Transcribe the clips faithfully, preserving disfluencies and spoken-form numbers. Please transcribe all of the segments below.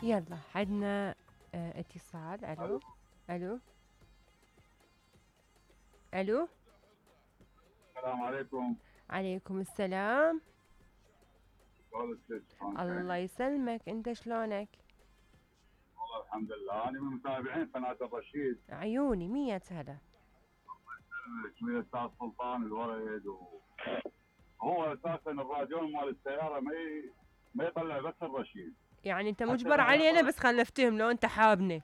يلا عندنا اه اتصال. الو الو الو. السلام عليكم. عليكم السلام. والله الله يسلمك، انت شلونك؟ الحمد لله، انا من متابعين قناه الرشيد. عيوني مية هلا. من الاستاذ سلطان الورد و... هو اساسا الراديو مال السياره ما ي... ما يطلع بس الرشيد. يعني انت مجبر علينا بس خلنا نفتهم لو انت حابني.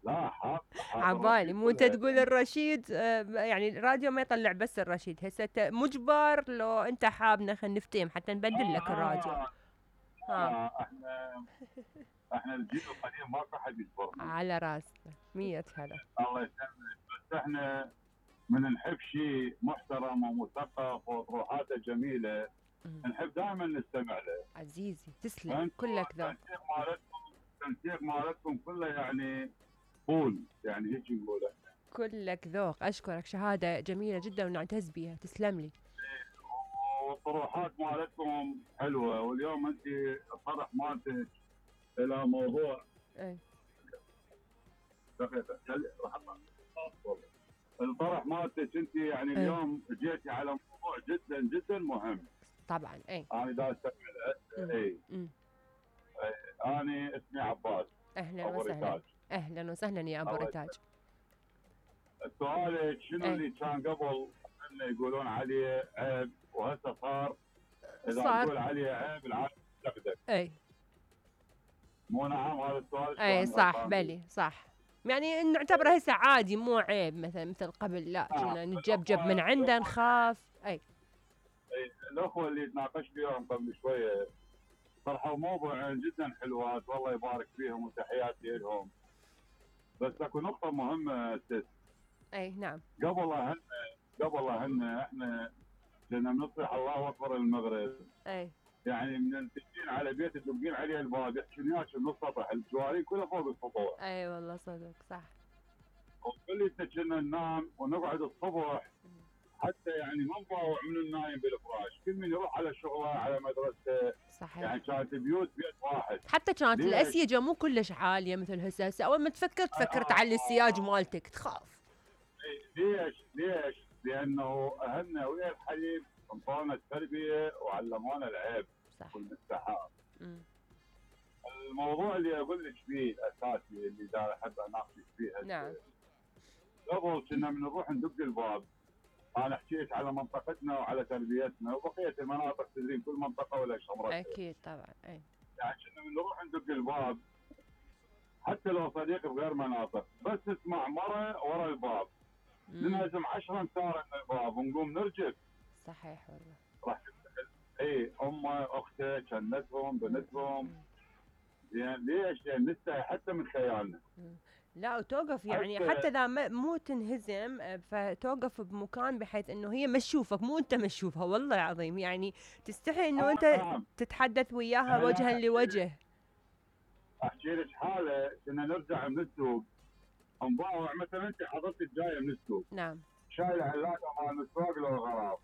لا حاب حاب عبالي مو انت كلها. تقول الرشيد آه يعني الراديو ما يطلع بس الرشيد، هسه انت مجبر لو انت حابنا خلنا نفتهم حتى نبدل لك آه الراديو. آه ها آه احنا احنا الجيل القديم ماكو حد يصبرنا. على راسنا مية هلا. الله يسلمك، بس احنا من نحب شيء محترم ومثقف وطروحاته جميله نحب دائما نستمع له. عزيزي تسلم، كلك ذوق. التنسيق مالتكم التنسيق مالتكم كله يعني قول، يعني هيك نقول احنا. كلك ذوق، اشكرك، شهاده جميله جدا ونعتز بها، تسلم لي. والطروحات مالتكم حلوه، واليوم انت الطرح مالتك الى موضوع. اي دقيقه راح اطلع. الطرح مالتك انت يعني أي. اليوم جيتي على موضوع جدا جدا مهم. طبعا اي. انا دا استمع له. اي انا اسمي عباس. اهلا أبو وسهلا. ريتاج. اهلا وسهلا يا ابو ريتاج. سؤالك شنو أي. اللي كان قبل انه يقولون عليه عيب وهسه صار اذا صار. تقول عليه عيب العالم تقدر. اي مو نعم هذا السؤال؟ اي صح بلي صح، يعني نعتبره هسه عادي مو عيب مثلا مثل قبل، لا كنا آه. نتجبجب من عنده نخاف. اي اي الاخوه اللي تناقشت وياهم قبل شويه طرحوا موضوع جدا حلوات، والله يبارك فيهم وتحياتي لهم. بس اكو نقطه مهمه ست. اي نعم. قبل اهلنا قبل اهلنا احنا كنا بنصيح الله اكبر المغرب. اي يعني من تجين على بيت تدقين عليه الباب يحكون وياك من السطح، الجوارين كلها فوق السطوح. اي والله صدق صح. وكل كنا ننام ونقعد الصبح حتى يعني ما نضاوع من النايم بالفراش، كل من يروح على شغله على مدرسته. صحيح. يعني كانت بيوت بيت واحد. حتى كانت الاسيجه مو كلش عاليه مثل هسه، هسه اول ما تفكر تفكر تعلي السياج مالتك تخاف. ليش؟ ليش؟ لانه اهلنا ويا الحليب انطونا التربيه وعلمونا العيب صح والمستحاب. الموضوع اللي اقول لك فيه الاساسي اللي دا احب اناقشك فيه. نعم. قبل كنا من نروح ندق الباب، انا احكي لك على منطقتنا وعلى تربيتنا وبقيه المناطق، تدرين كل منطقه ولا شمرتها. اكيد طبعا. اي يعني كنا من نروح ندق الباب حتى لو صديق بغير مناطق، بس نسمع مره ورا الباب ننهزم عشرة امتار من الباب ونقوم نرجف. صحيح والله. راح اي امه اخته كنتهم بنتهم. يعني ليش؟ يعني نستحي حتى من خيالنا. لا وتوقف يعني حتى اذا مو تنهزم فتوقف بمكان بحيث انه هي ما تشوفك، مو انت ما تشوفها، والله العظيم يعني تستحي انه آه انت نعم. تتحدث وياها وجها لوجه. احكي لك حاله كنا نرجع من السوق نضاوع، مثلا انت حضرتك جايه من السوق. نعم. شايله علاقه مال المسواق لو غراب.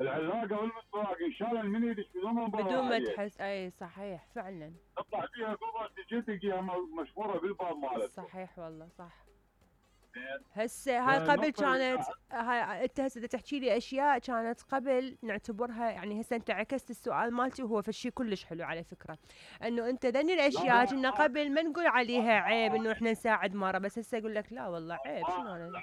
العلاقه والمسواق انشال من ايدك بدون ما بدون ما تحس. اي صحيح فعلا. تطلع فيها قبل تجي تلقيها مشهوره بالباب مالتك. صحيح والله صح. هسه هاي قبل كانت هاي انت هسه تحكي لي اشياء كانت قبل نعتبرها، يعني هسه انت عكست السؤال مالتي وهو فشي كلش حلو على فكره، انه انت ذني الاشياء كنا قبل ما نقول عليها عيب انه احنا نساعد مره، بس هسه اقول لك لا والله عيب شنو انا.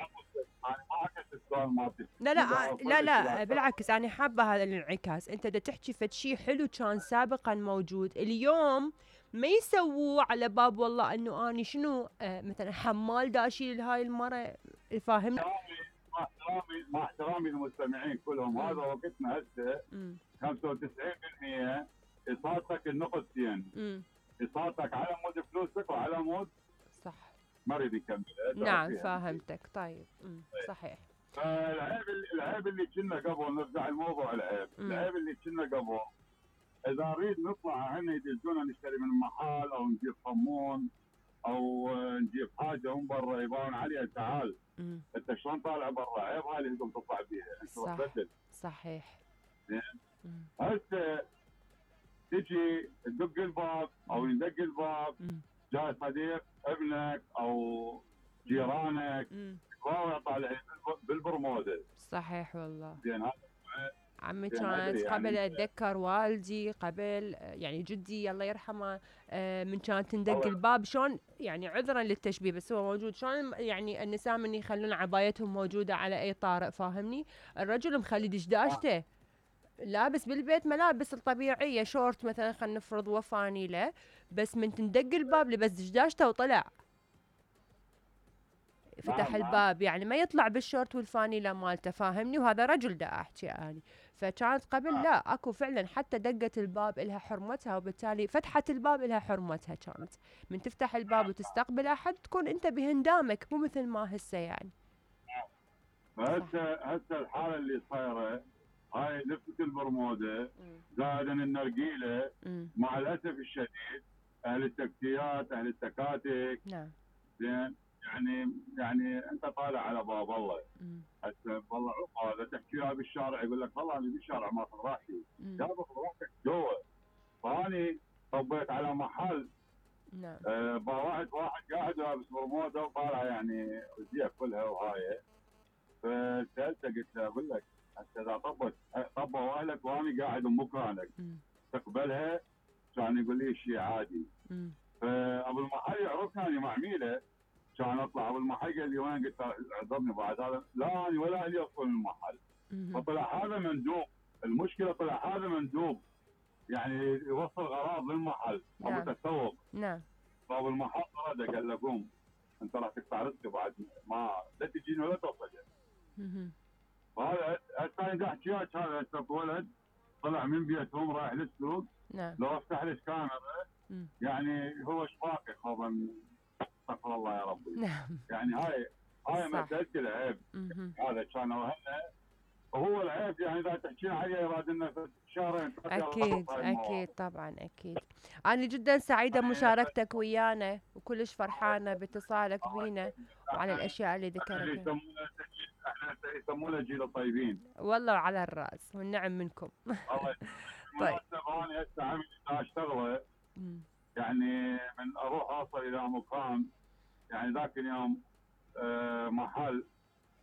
لا لا لا لا بالعكس انا حابه هذا الانعكاس، انت دا تحكي فد شيء حلو كان سابقا موجود اليوم ما يسووه على باب والله انه اني شنو آه مثلا حمال داشي لهاي المره، فاهمني؟ مع احترامي مع احترامي للمستمعين كلهم، هذا وقتنا هسه خمسة وتسعين بالمئة اصابتك النقطتين، اصابتك على مود فلوسك وعلى مود صح ما اريد يكمل. نعم فاهمتك. طيب امم صحيح. فالعيب العيب اللي كنا قبل نرجع الموضوع العيب، مم. العيب اللي كنا قبل اذا نريد نطلع عنا يدزونا نشتري من محل او نجيب صمون او نجيب حاجه من برا يبان عليها تعال مم. انت شلون طالع برا، عيب هاي اللي انتم تطلع بيها انت صح. تبدل. صحيح. هسه تجي تدق الباب او مم. يدق الباب، مم. جاي صديق ابنك او جيرانك مم. يراوغ طالعين بالبرموده. صحيح والله. زين هذا عمي زين ادري كانت يعني قبل اتذكر والدي قبل آه، يعني جدي الله يرحمه، آه، من كانت تندق الله الباب شلون يعني عذرا للتشبيه بس هو موجود، شلون يعني النساء من يخلون عبايتهم موجوده على اي طارئ فاهمني، الرجل مخلي دشداشته لابس بالبيت ملابس الطبيعيه شورت مثلا خلينا نفرض وفانيله، بس من تندق الباب لبس دشداشته وطلع فتح نعم نعم. الباب، يعني ما يطلع بالشورت والفانيلا مالته فاهمني، وهذا رجل دا احكي اني. فكانت قبل لا اكو فعلا حتى دقة الباب الها حرمتها، وبالتالي فتحة الباب الها حرمتها، كانت من تفتح الباب وتستقبل احد تكون انت بهندامك مو مثل ما هسه يعني. هسه هسه الحاله اللي صايره هاي لفه البرموده زائدا النرجيله، امم مع الاسف الشديد اهل التكتيات اهل التكاتك نعم. زين يعني يعني انت طالع على باب الله امم هسه والله عقب هذا تحكي له بالشارع يقول لك والله انا بالشارع ما اخذ راحتي، يا باخذ راحتك جوا. فاني طبيت على محل نعم. آه با واحد واحد قاعد لابس برموده وطالع يعني وزيه كلها وهاي، فسالته قلت له اقول لك هسه اذا طبت طبوا اهلك وانا قاعد بمكانك امم تقبلها؟ كان يقول لي شيء عادي. امم فابو المحل يعرفني انا معميله، كان اطلع ابو المحل قال لي وين؟ قلت له اعذرني بعد هذا لا انا ولا لي ادخل المحل. فطلع هذا مندوب، المشكله طلع هذا مندوب يعني يوصل غراض للمحل او نعم. متسوق. نعم. فابو المحل رده قال له قوم انت راح تقطع رزقي بعد ما لا تجيني ولا توصل. مهم. وهذا الثاني دا احكي لك هذا هسه ولد طلع من بيتهم رايح للسوق، نعم. لو افتح له الكاميرا مم. يعني هو شباكه خوفا استغفر الله يا ربي. نعم. يعني هاي هاي صح. مساله العيب. مهم. هذا كان وهنا وهو العيب يعني اذا تحكي عليه يراد لنا في شهرين أكيد أكيد طبعا أكيد. أنا جدا سعيدة بمشاركتك ويانا وكلش فرحانة باتصالك بينا وعلى الأشياء اللي ذكرتها. احنا يسمونه جيل الطيبين. والله وعلى الرأس والنعم منكم. الله طيب. انا هسه عملي اشتغله مم. يعني من اروح اوصل الى مكان يعني ذاك اليوم آه محل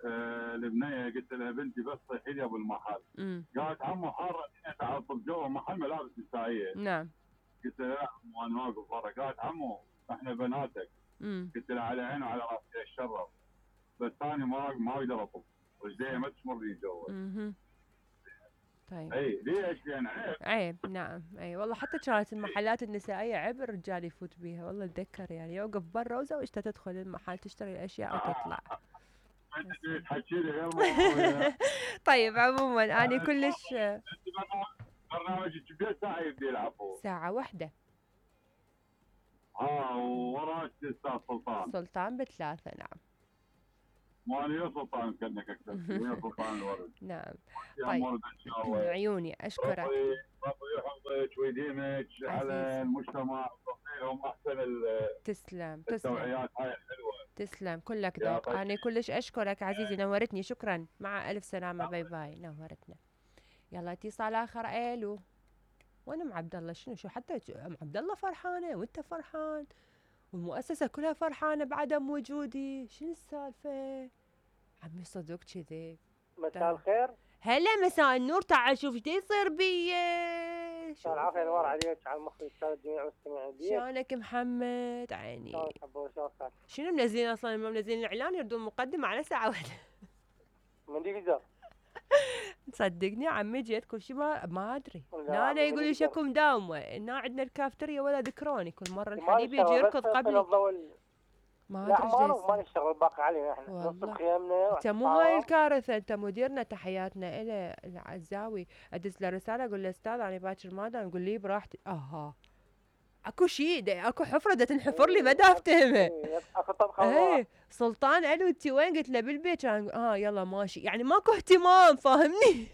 آه البنيه قلت لها بنتي بس صيحي لي ابو المحل. مم. قالت عمو حاره تعال طب جوا محل ملابس نسائيه. نعم. قلت لها لا وانا واقف برا. قالت عمو احنا بناتك. مم. قلت لها على عيني وعلى راسي الشرف بس ثاني ما ما اقدر اطب رجلي ما تشمر لي جوا. مهم. طيب. اي ليش؟ لان عيب. عيب نعم. اي والله حتى كانت المحلات النسائيه عيب الرجال يفوت بيها، والله اتذكر يعني يوقف برا وزوجته تدخل المحل تشتري الاشياء وتطلع. انت تحكي لي غير موضوع. طيب عموما انا كلش برنامجك بيت ساعه يبدي يلعبوا ساعه واحده. اه ووراك استاذ سلطان. سلطان بثلاثه نعم. مو انا يا سلطان كانك اكثر يا سلطان الورد. نعم. يا طيب. مورد ان شاء الله. عيوني اشكرك. ربي ربي يحفظك ويديمك على المجتمع وتعطيهم احسن تسلم تسلم التوعيات هاي الحلوه. تسلم كلك يا ذوق. طيب. انا كلش اشكرك عزيزي نورتني شكرا مع الف سلامه باي باي نورتنا. يلا اتصال اخر. الو وين ام عبد الله؟ شنو شو حتى ام عبد الله فرحانه وانت فرحان والمؤسسه كلها فرحانه بعدم وجودي، شنو السالفه؟ عمي صدق كذي. مساء الخير. هلا مساء النور. تعال شوف ايش يصير بي. مساء العافيه انوار عليك على المخرج استاذ جميع المستمعين. شلونك محمد؟ عيني. شلون تحبوا شلون صار؟ شنو منزلين اصلا؟ ما منزلين اعلان يردون مقدمه على ساعه واحده. من ديفيزر. صدقني عمي جيت كل شيء ما ما ادري. لا، انا يقول لي من شكو مداومه هنا عندنا الكافتريا ولا ذكروني كل مره ما الحليب يجي نشتغل يركض بس في قبلي. الضوء. ما لا ادري ايش ما جاي ما يصير. نشتغل باقي علينا احنا والله. نصب خيامنا. انت مو هاي الكارثه، انت مديرنا تحياتنا الى العزاوي. ادز له رساله اقول له استاذ انا باكر ما دام، يقول لي براحتي. اها اكو شيء اكو حفره دا تنحفر لي ما دا افتهمه. اكو طبخه. ايه سلطان الو انت وين؟ قلت له بالبيت. كان اه يلا ماشي يعني ماكو اهتمام فاهمني.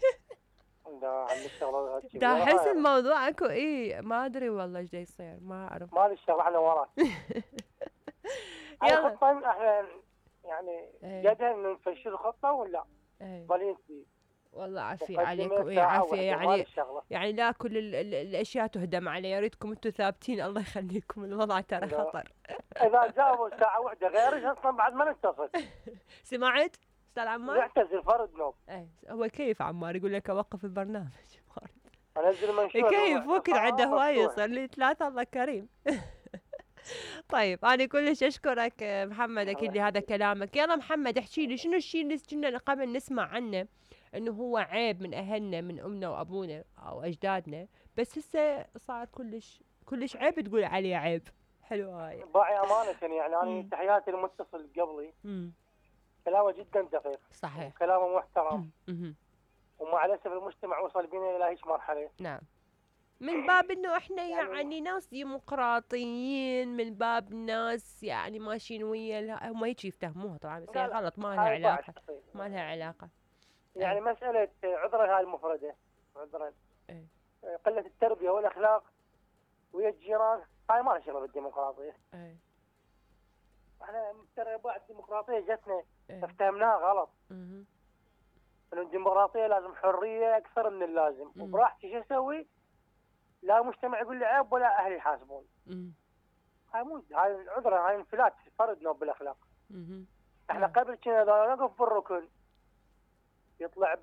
دا عم نشتغل دا احس الموضوع اكو ايه ما ادري والله ايش دا يصير ما اعرف. ما نشتغل احنا وراك. يلا الخطه احنا يعني ايه. جدها انه نفشل الخطه ولا ايه. فالنسي والله عافية مقدمة عليكم، اي ساعة عافية واحدة يعني. مال الشغلة. يعني لا كل ال ال الاشياء تهدم علي، يا ريتكم انتم ثابتين، الله يخليكم، الوضع ترى لا. خطر. اذا جابوا ساعة واحدة غيرك اصلا بعد ما نتصل. سمعت استاذ عمار؟ يعتزل فرد نوم. ايه هو كيف عمار يقول لك اوقف البرنامج. انزل منشور كيف وقت عنده هواية، مفتوح. صار لي ثلاثة، الله كريم. طيب انا كلش اشكرك محمد، اكيد لهذا كلامك. يلا محمد احكي لي شنو الشيء اللي كنا قبل نسمع عنه انه هو عيب من اهلنا من امنا وابونا او اجدادنا، بس هسه صار كلش كلش عيب تقول عليه عيب. حلو هاي. باعي امانة يعني انا مم. تحياتي المتصل قبلي امم كلامه جدا دقيق. صحيح. كلامه محترم. امم ومع الاسف المجتمع وصل بنا الى هيك مرحلة. نعم. من باب انه احنا يعني يعني ناس ديمقراطيين، من باب ناس يعني ماشيين ويا اله- هم هيك يفتهموها طبعا، بس لا هي لا، غلط، ما لها هاي بعد علاقة، تقصير. ما لها علاقة. يعني أي. مسألة عذرا هاي المفردة، عذرا أي. قلة التربية والاخلاق ويا الجيران، هاي ما لها شغل بالديمقراطية. اي. احنا ترى بعد الديمقراطية جتنا اي. فهمناها غلط. مهم. انه الديمقراطية لازم حرية اكثر من اللازم، مم. وبراحتي شو اسوي؟ لا مجتمع يقول لي عيب ولا اهلي يحاسبون. مم. هاي مو هاي عذرا، هاي انفلات فرد نوب بالاخلاق. مهم. احنا نعم. قبل كنا اذا نقف بالركن يطلع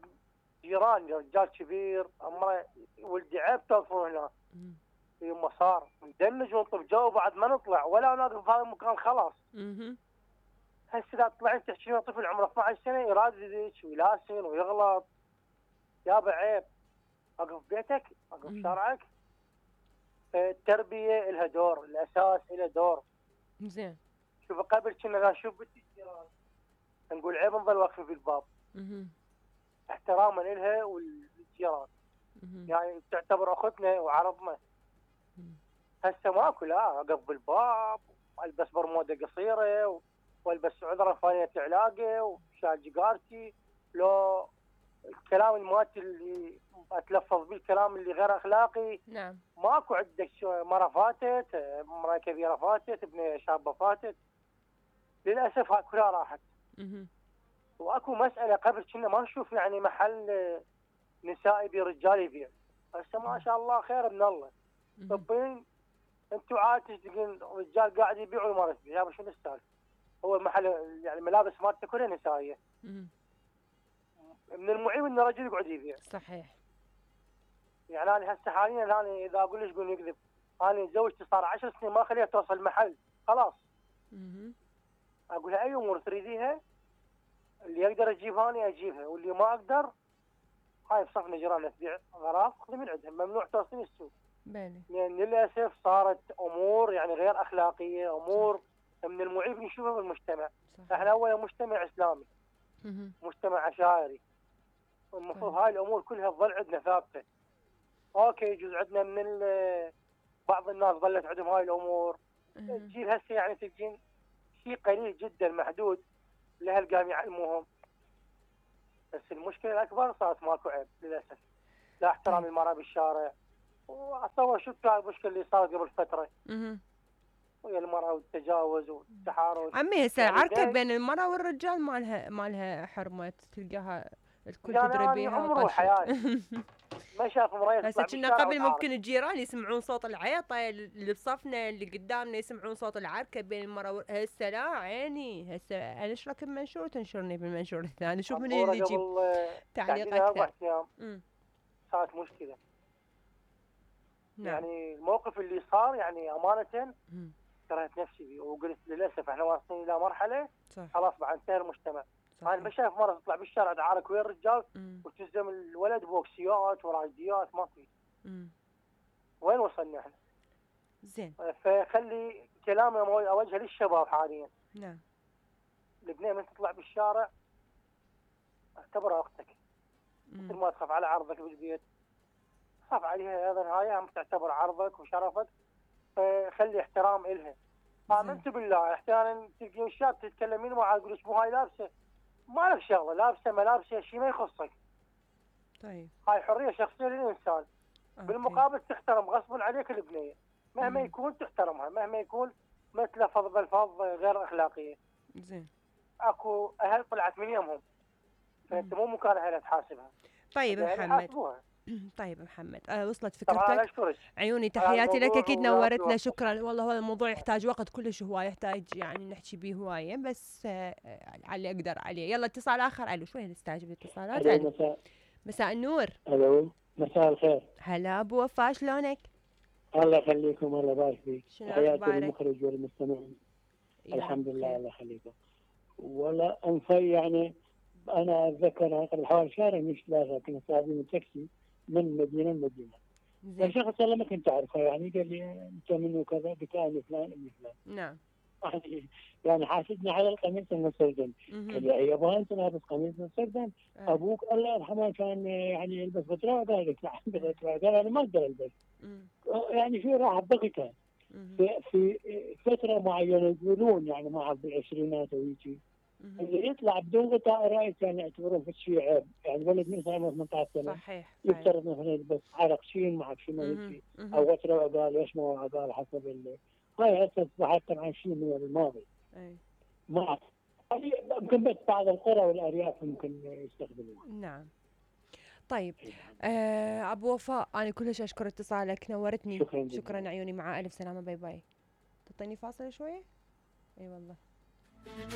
جيران رجال كبير عمره ولدي عيب توقفون هنا. مم. يما صار ندمج ونطب جو بعد ما نطلع ولا نقف في هذا المكان خلاص. مهم. هسه اذا طلعت تحكي طفل عمره اثني عشر سنه يراددك ويلاسن ويغلط، يابا عيب. اقف بيتك، اقف مم. شارعك. التربيه لها دور، الاساس له دور. زين. شوف قبل كنا نشوف بنت الجيران نقول عيب نظل واقفين في الباب مهم. احتراما لها والجيران، مهم. يعني تعتبر اختنا وعرضنا. مم. هسه ماكو، لا اقف بالباب والبس برموده قصيره والبس عذره فانيه علاقه وشال جيجارتي، لو الكلام الماتي اللي اتلفظ به الكلام اللي غير اخلاقي. نعم. ماكو عندك مره فاتت، مره كبيره فاتت، ابنيه شابه فاتت. للاسف هاي كلها راحت. مهم. واكو مساله قبل كنا ما نشوف يعني محل نساء يبيع رجال يبيع، هسه ما شاء الله خير من الله. مهم. طبين انتوا عاد تشتغلون رجال قاعد يبيع والمراه تبيع، يابا شنو السالفه؟ هو المحل يعني الملابس مالته كلها نسائيه. مهم. من المعيب ان الرجل يقعد يبيع. صحيح. يعني انا هسه حاليا انا اذا اقول ليش يقول يكذب، انا زوجتي صار عشر سنين ما خليها توصل محل، خلاص. مهم. اقول لها اي امور تريديها اللي اقدر اجيبها انا اجيبها، واللي ما اقدر هاي بصفنا جيراننا تبيع اغراض خذي من عندهم، ممنوع توصلين السوق. بالي. لان للاسف صارت امور يعني غير اخلاقيه، امور من المعيب نشوفها بالمجتمع. صحيح. احنا اولا مجتمع اسلامي، مهم. مجتمع عشائري، المفروض هاي الامور كلها تظل عندنا ثابته. اوكي يجوز عندنا من ال- بعض الناس ظلت عندهم هاي الامور، مهم. الجيل هسه يعني تجين شيء قليل جدا محدود الاهل قام يعلموهم. بس المشكله الاكبر صارت ماكو عيب للاسف، لا احترام طيب. المراه بالشارع. واتصور شو كان المشكله اللي صارت قبل فتره مهم. ويا المراه والتجاوز والتحرش. عمي هسه يعني العركة دايم- بين المرأة والرجال ما لها ما لها حرمة، تلقاها الكل يعني تدري أنا بيها عمري وطشت. وحياتي ما شاف مريض هسه يطلع كنا بالشارع قبل وتعارك. ممكن الجيران يسمعون صوت العيطة، اللي بصفنا اللي قدامنا يسمعون صوت العركة بين المرأة وال... هسه لا عيني، هسه انا اشرك بمنشور تنشرني بالمنشور الثاني، شوف من عبورة اللي يجيب قبل آه، تعليق تحديدا اربع اكثر. ايام امم صارت مشكله. نعم. يعني الموقف اللي صار يعني امانه مم. كرهت نفسي بيه، وقلت للاسف احنا واصلين الى مرحله صح. خلاص بعد انتهى المجتمع. صح. انا بشايف مره تطلع بالشارع تعارك ويا الرجال مم. وتلزم الولد بوكسيات وراجديات، ما في. مم. وين وصلنا احنا؟ زين. فخلي كلامي اوجهه للشباب حاليا. نعم. البنيه من تطلع بالشارع اعتبرها اختك، مثل مم. ما تخاف على عرضك بالبيت خاف عليها ايضا، هاي هم تعتبر عرضك وشرفك، فخلي احترام الها. امنت بالله احيانا تلقين شاب تتكلمين معاه تقول مو هاي لابسه، ما لك شغله لابسه ما لابسه شيء ما يخصك، طيب. هاي حريه شخصيه للانسان. أوكي. بالمقابل تحترم غصبا عليك البنيه مهما مم. يكون تحترمها، مهما يكون ما تلفظ بالفاظ غير اخلاقيه. زين. اكو اهل طلعت من يمهم، فانت مو مكان اهلها تحاسبها. طيب يعني محمد. حاسبوها. طيب محمد، أه وصلت طبعا انا فكرتك. اشكرك عيوني على تحياتي لك، الموضوع اكيد ويا نورتنا، رب شكرا. والله هذا الموضوع يحتاج وقت كلش هواي، يحتاج يعني نحكي به هوايه، بس آه على اللي اقدر عليه. يلا اتصال اخر. الو، شوي نستعجل الاتصالات. الو الو، مساء مساء النور. الو مساء الخير. هلا ابو وفاء، شلونك؟ الله يخليكم، الله يبارك فيك. شنو حياتي اخبارك؟ للمخرج والمستمعين. الحمد لله، بخير. الله يخليكم. ولا انفي يعني انا اتذكر قبل حوالي شهرين مش ثلاثه كنا سايقين تاكسي من مدينه لمدينه. زين. فشخص والله ما كنت اعرفه، يعني قال لي انت منو كذا، قلت انا فلان ابن فلان. نعم. يعني حاسدني على القميص المسردن. مهم. قال لي يا ابا انت لابس قميص مسردن؟ آه. ابوك الله يرحمه كان يعني يلبس غتره. قال لك عندي غتره. قال انا ما اقدر البس. مم. يعني في راح ضغطها مهم. في, في فتره معينه يقولون، يعني ما اعرف بالعشرينات او يجي مهم. اللي يطلع بدون غطاء رايت كان يعتبرون في شيء عيب. يعني ولد من عمره ثمانية عشر سنه صحيح. يفترض مثلا يلبس عرق شين ما اعرف شو ما مهم. يجي مهم. او غتره وقال ليش ما قال حسب اللي هاي هسه اصبحت طبعا شيء من الماضي. أي. ما اعرف يعني يمكن بس بعض القرى والارياف ممكن يستخدموها. نعم. طيب آه ابو وفاء، انا كلش اشكر اتصالك، نورتني. شكرا جدا. شكرا عيوني، مع الف سلامه، باي باي. تعطيني فاصله شويه. اي والله.